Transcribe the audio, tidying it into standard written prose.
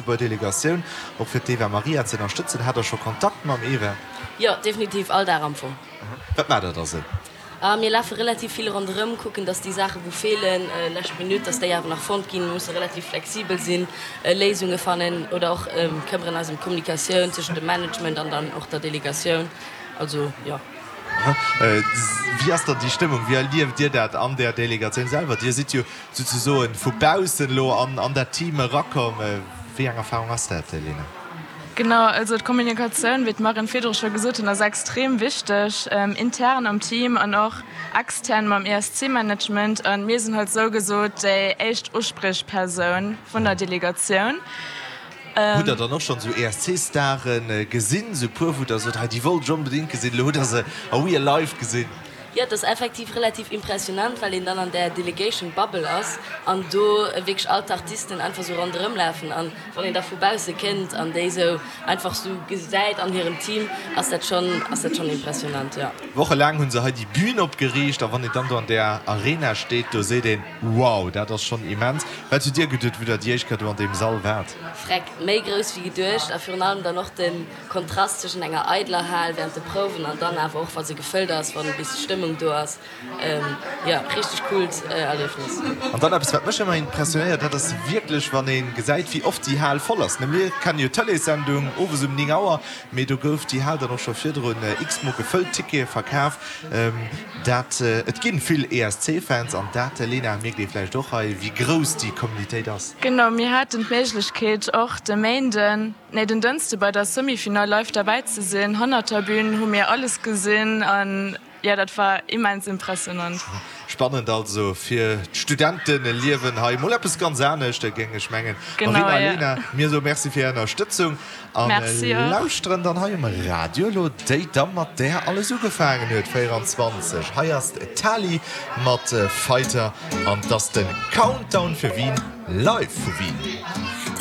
Lëtzebuerger Delegatioun, och fir d'Eva Marija ze ënnerstëtzen. Hat der scho Kontakt mam Eva? Jo, definitiv, all Dag am Fong. Wat maacht der da sou? Mir lafe relativ vill ronderëm, kucken, dass déi Saachen, wou feelen, lescht Minutt, dass déi awer nach fonnt ginn. Mir musse relativ flexibel sinn, Léisunge fannen oder och këmmeren eis ëm d'Kommunikatioun tëschent dem Management an dann och der Delegatioun. Also, jo. Wéi ass dann déi Stëmmung? Wéi erlieft Dir dat an där Delegatioun selwer? Dir sidd jo souzesoen vu baussen elo an dat Team erakomm. Wéi eng Erfarung ass dat, Lena? Genau, also d'Kommunikatioun, wéi d'Marine virdru scho gesot hunn, ass extrem wichteg, intern am Team an och extern mam ESC-Management. A mir sinn halt sougesot déi éischt Uspriechpersoun vun der Delegatioun. Hutt der dann och schonn esou ESC-Stare gesinn, esou e puer, wou der sot, hei déi wollt ech onbedéngt gesinn, elo hutt der se a real life gesinn? Jo, et ass effektiv relativ impressionant, well een dann an där Delegation Bubble ass an do wierklech all d'Artisten einfach sou ronderëm lafen an wann een da vu bausse kënnt an déi sou einfach sou gesäit an hirem Team, ass dat schonn, ass dat schonn impressionant, jo. Wochelaang hu se hei déi Bühn opgeriicht a wann een dann do an där Arena steet, do seet een, Wow, dat ass schonn immens. Wat hutt Dir geduet, wou Der déi éischt Kéier do an deem Sall waart? Freck, méi grouss wéi geduecht a virun allem dann och de Kontrast zwëschen enger eidler Hal während de Prouwen an dann awer och wa se gefëllt ass, wann e bis Stëmmung do ass. Jo, richteg coolt Erliefnis. An dann eppes wat mech ëmmer impressionéiert, dat ass wierklech wann ee gesäit wéi oft déi Hal voll ass. Mir kennen jo d'Tëleessendung owes um 9 Auer, mee do gouf déi Hal dann och scho virdrun x-mol gefëllt, Tickete verkaf. Dat et ginn vill ESC-Fans an dat, Lena, mierkt ee vläicht och hei, wéi grouss déi Communitéit ass. Genau, mir haten d'Méiglechkeet och de Méinden, Nee, den Dënschde bei der Semi-Finall live derbäi ze sinn. Hannert der Bühn hu mir alles gesinn an jo, dat war immens impressionant. Spannend also fir d'Studenteliewen hei, mol eppes ganz anescht, géing ech mengen. Marina a Lena, mir soe Merci fir Är Ënnerstëtzung a lauschteren dann hei um Radio elo déi Damm, mat där alles ugefaangen huet, 24. Hei ass d'Tali mat Fighter an 't ass de Countdown fir Wien live vu Wien.